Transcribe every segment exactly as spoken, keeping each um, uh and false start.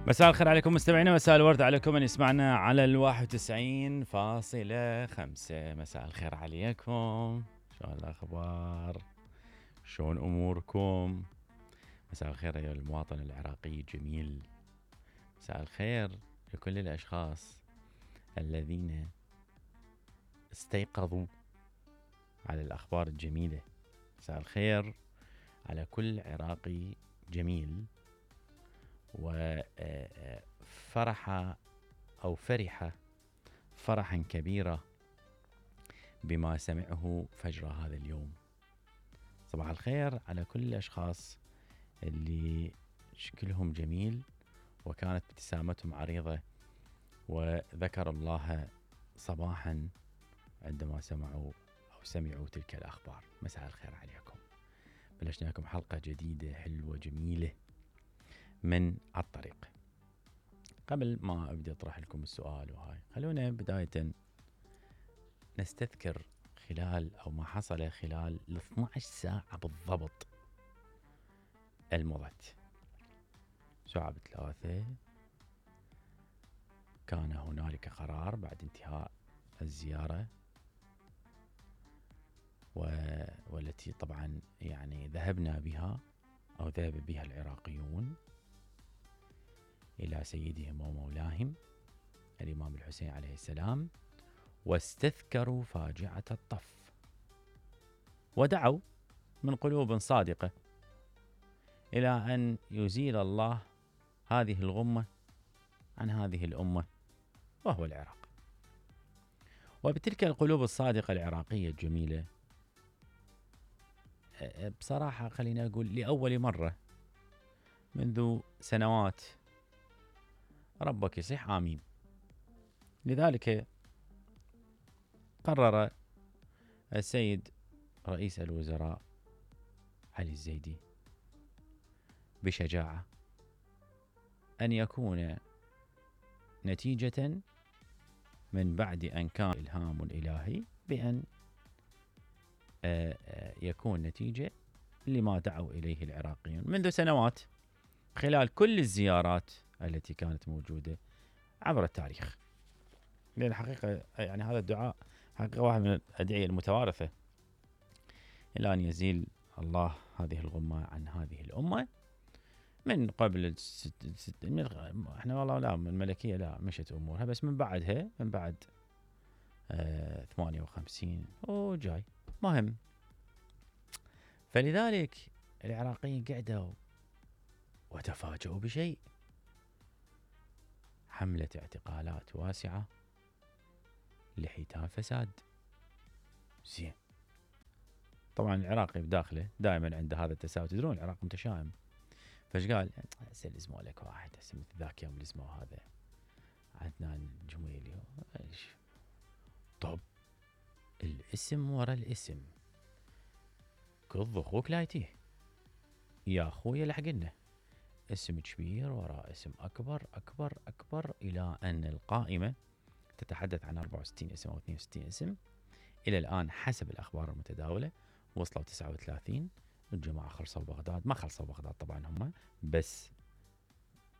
مساء الخير عليكم مستمعينا، مساء الورد عليكم من يسمعنا على الواحد وتسعين فاصلة خمسة. مساء الخير عليكم، شلون الأخبار؟ شلون أموركم؟ مساء الخير أيها المواطن العراقي الجميل، مساء الخير لكل الأشخاص الذين استيقظوا على الأخبار الجميلة. مساء الخير على كل عراقي جميل وفرح أو فرح فرحا كبيرا بما سمعه فجر هذا اليوم. صباح الخير على كل الأشخاص اللي شكلهم جميل وكانت ابتسامتهم عريضة وذكر الله صباحا عندما سمعوا أو سمعوا تلك الأخبار. مساء الخير عليكم. بلشنا لكم حلقة جديدة حلوة جميلة من الطريق. قبل ما أبدأ أطرح لكم السؤال وهاي، خلونا بداية نستذكر خلال أو ما حصل خلال الاثنى عشر ساعة بالضبط المضت. ساعة بثلاثة كان هنالك قرار بعد انتهاء الزيارة والتي طبعا يعني ذهبنا بها أو ذهب بها العراقيون إلى سيدهم ومولاهم الإمام الحسين عليه السلام، واستذكروا فاجعة الطف ودعوا من قلوب صادقة إلى أن يزيل الله هذه الغمة عن هذه الأمة وهو العراق. وبتلك القلوب الصادقة العراقية الجميلة بصراحة خلينا نقول لأول مرة منذ سنوات ربك يصيح آمين. لذلك قرر السيد رئيس الوزراء علي الزيدي بشجاعة أن يكون نتيجة من بعد أن كان إلهام إلهي بأن يكون نتيجة لما دعوا إليه العراقيون منذ سنوات خلال كل الزيارات التي كانت موجودة عبر التاريخ. لأن الحقيقة يعني هذا الدعاء حقيقة واحد من الأدعية المتوارثة إلى أن يزيل الله هذه الغمة عن هذه الأمة من قبل الست... الست... من... احنا والله لا من الملكية لا مشت أمورها، بس من بعدها من بعد آه ثمانية وخمسين وجاي مهم. فلذلك العراقيين قعدوا وتفاجؤوا بشيء: حملة اعتقالات واسعة لحيتان فساد. زين، طبعا العراقي بداخله دائما عنده هذا التساؤل، تدرون العراق متشائم، فايش قال؟ هسه الاسم لك واحد، هسه مثل ذاك يوم الاسم هذا عدنان الجميلي. ايش؟ طب الاسم ورا الاسم، كض اخوك لا يتيه يا اخويا، لحقنا اسم كبير وراء اسم أكبر أكبر أكبر، إلى أن القائمة تتحدث عن أربعة وستين اسم أو اثنين وستين اسم. إلى الآن حسب الأخبار المتداولة وصلوا تسعة وثلاثين. الجماعة خلصوا بغداد، ما خلصوا بغداد طبعا هم، بس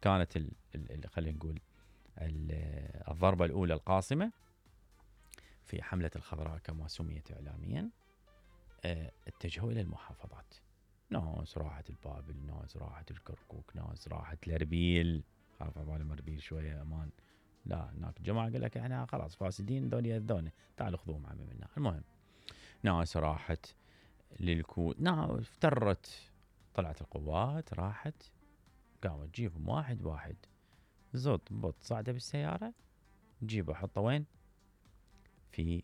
كانت ال ال خلينا نقول الضربة الأولى القاصمة في حملة الخضراء كما سميت إعلاميا. اه اتجهوا إلى المحافظات، ناس راحت البابل، ناس راحت الكركوك، ناس راحت الاربيل، خاف عبالي مربيل شويه امان، لا هناك الجماعه قال لك احنا خلاص فاسدين ذولي ياذونا تعالوا خذوهم عمي منا. المهم ناس راحت للكوت، ناس افترت، طلعت القوات راحت قامت تجيبهم واحد واحد، زط بط صعده بالسياره، تجيبه حطه وين؟ في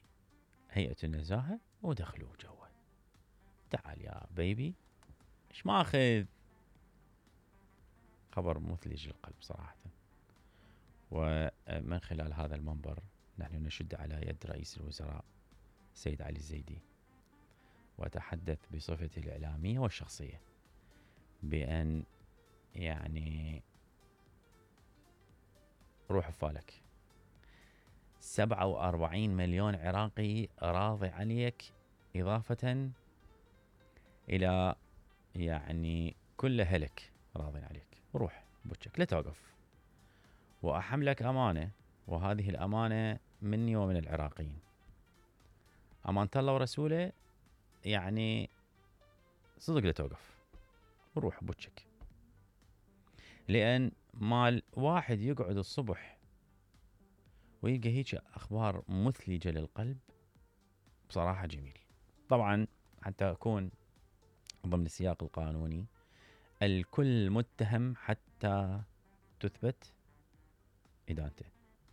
هيئه النزاهه ودخلوه جوا. تعال يا بيبي، ايش ماخذ؟ خبر مثلج للقلب صراحة. ومن خلال هذا المنبر نحن نشد على يد رئيس الوزراء سيد علي الزيدي وأتحدث بصفتي الإعلامية والشخصية بأن يعني روح فالك، سبعة وأربعين مليون عراقي راضي عليك، إضافة إلى يعني كل هلك راضي عليك. روح بوجهك لا توقف، وأحملك أمانة، وهذه الأمانة مني ومن العراقيين، أمانة الله ورسوله، يعني صدق لا توقف وروح بوجهك. لأن مال واحد يقعد الصبح ويلقى هيك أخبار مثلجة للقلب بصراحة جميل. طبعا حتى أكون ضمن السياق القانوني، الكل متهم حتى تثبت إدانته،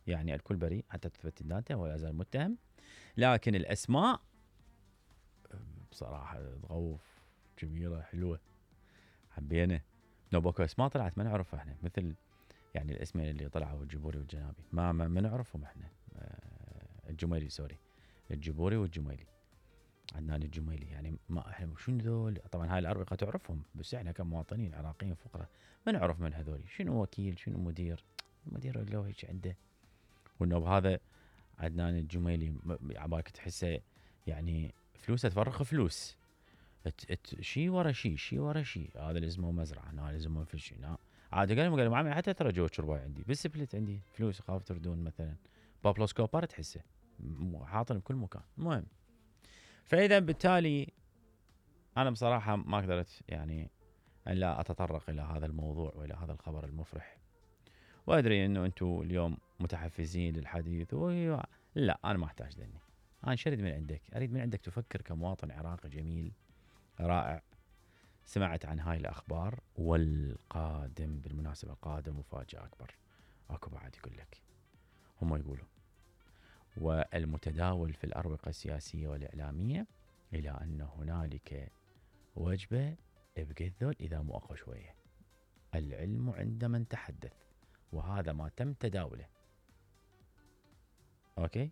يعني الكل بريء حتى تثبت إدانته ولا يزال متهم. لكن الأسماء بصراحة تغوف، جميلة حلوة، حبينا. نوبوكو اسماء طلعت ما نعرفها احنا، مثل يعني الاسمين اللي طلعوا الجبوري والجنابي ما ما, ما نعرفهم احنا. الجميلي سوري، الجبوري والجميلي، عدنان الجميلي، يعني ما احنا شنو ذول؟ طبعا هاي الأربقة تعرفهم، بس احنا كمواطنين عراقيين فقراء ما نعرف من هذول، شنو وكيل شنو مدير، المدير لو هيك عنده. والنوب هذا عدنان الجميلي عبالك تحسه يعني فلوسه تفرخ فلوس، شي ورا شي شي ورا شي، هذا لازمه مزرعه، هذا لازمه في شيء. عاد قال لهم قال لهم حتى ترى جو شرباي عندي بالسبلت، عندي فلوس خاف تردون مثلا بابلو سكوبر تحسه حاطن بكل مكان. المهم، فاذا بالتالي انا بصراحه ما قدرت يعني ان لا اتطرق الى هذا الموضوع والى هذا الخبر المفرح، وادري انه انتم اليوم متحفزين للحديث و... لا انا ما احتاج ذني، انا شريد من عندك، اريد من عندك تفكر كمواطن عراقي جميل رائع سمعت عن هاي الأخبار. والقادم بالمناسبة قادم مفاجأة أكبر، أكو بعد يقول لك هم يقولوا. والمتداول في الأروقة السياسية والإعلامية إلى أن هنالك وجبة بقذل إذا مو أقوى شوية، العلم عند من تحدث، وهذا ما تم تداوله. أوكي،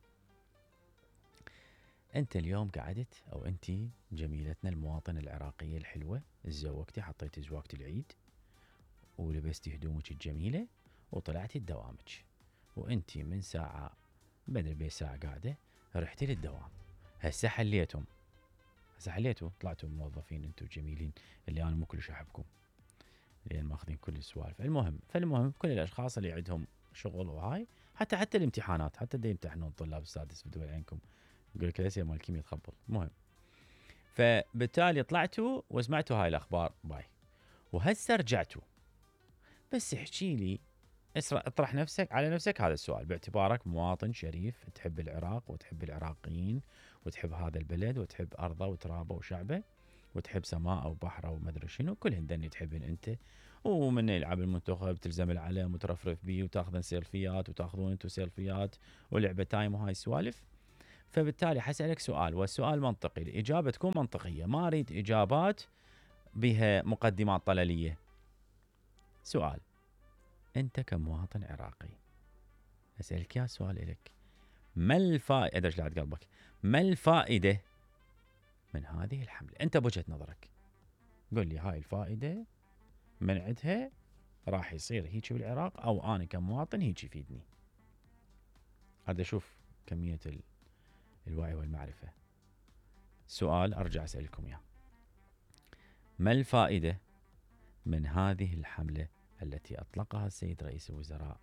أنت اليوم قعدت أو أنت جميلتنا المواطنة العراقية الحلوة، تزوجتي، حطيتي زواجة العيد ولبستي هدومك الجميلة وطلعتي لدوامك، وأنت من ساعة بدري بي ساعة قاعدة رحتي للدوام. هسه حليتم، هسه حليتوا طلعتوا موظفين أنتم جميلين اللي أنا مو كلش أحبكم لأن ماخذين كل السوالف. المهم فالمهم كل الأشخاص اللي عندهم شغل وهاي، حتى حتى الامتحانات، حتى دا يمتحنون طلاب السادس بدول عينكم، يقول لك الاسئله مال الكيمياء تخبل. المهم، فبالتالي طلعتوا وسمعتوا هاي الاخبار باي، وهسه رجعتوا. بس احكي لي، اطرح نفسك على نفسك هذا السؤال باعتبارك مواطن شريف تحب العراق وتحب العراقيين وتحب هذا البلد وتحب ارضه وترابه وشعبه وتحب سماءه وبحره ومدري شنو، كلهن دني تحبن انت، ومن يلعب المنتخب تلزم العلم وترفرف بيه وتاخذن سيلفيات وتاخذون انتم سيلفيات ولعبه تايم وهاي السوالف. فبالتالي حسألك سؤال، والسؤال منطقي، الإجابة تكون منطقية، ما أريد إجابات بها مقدمات طلالية. سؤال، أنت كمواطن عراقي أسألك يا سؤال إليك، ما الفائدة، أدري لعد قلبك، ما الفائدة من هذه الحملة؟ أنت بوجهة نظرك قل لي هاي الفائدة من عندها راح يصير هيك بالعراق، أو أنا كمواطن هيك يفيدني. هذا شوف كمية ال الوعي والمعرفة. سؤال أرجع أسألكم إياه، ما الفائدة من هذه الحملة التي أطلقها السيد رئيس الوزراء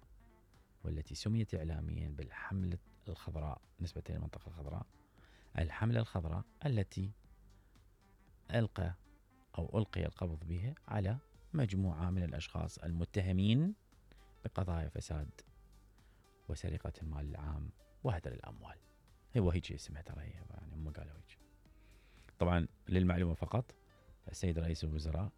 والتي سميت إعلاميا بالحملة الخضراء نسبة للمنطقة الخضراء، الحملة الخضراء التي ألقى أو ألقي القبض بها على مجموعة من الأشخاص المتهمين بقضايا فساد وسرقة المال العام وهدر الأموال. هو هيك اسمها ترى، يعني هم قالوا هيك. طبعا للمعلومة فقط، السيد رئيس الوزراء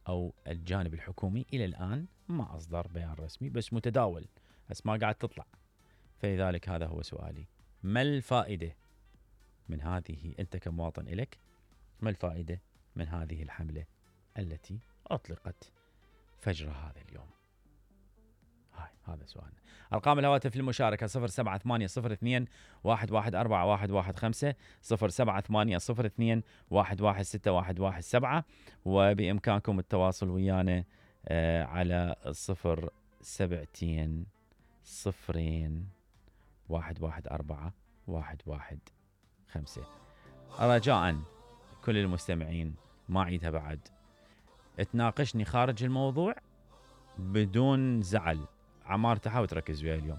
أو الجانب الحكومي إلى الآن ما أصدر بيان رسمي، بس متداول، أسماء قاعد تطلع. فلذلك هذا هو سؤالي، ما الفائدة من هذه، أنت كمواطن إلك ما الفائدة من هذه الحملة التي أطلقت فجر هذا اليوم؟ هاي هذا سؤالنا. أرقام الهواتف للمشاركة صفر سبعة ثمانية صفر اثنين واحد واحد أربعة واحد واحد خمسة، صفر سبعة ثمانية صفر اثنين واحد واحد ستة واحد واحد سبعة، وبإمكانكم التواصل ويانا آه على صفر سبعتين صفرين واحد واحد أربعة واحد واحد خمسة. رجاء كل المستمعين، ما عيدها بعد، تناقشني خارج الموضوع بدون زعل، عمار تحاول تركز وياي اليوم.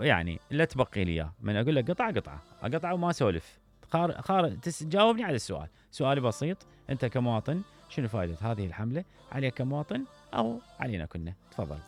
يعني لا تبقي لي اياه، من اقول لك قطعه قطعه اقطعه وما اسولف. خار خار تجاوبني على السؤال، سؤالي بسيط، انت كمواطن شنو فائده هذه الحمله عليك كمواطن او علينا كلنا؟ تفضل.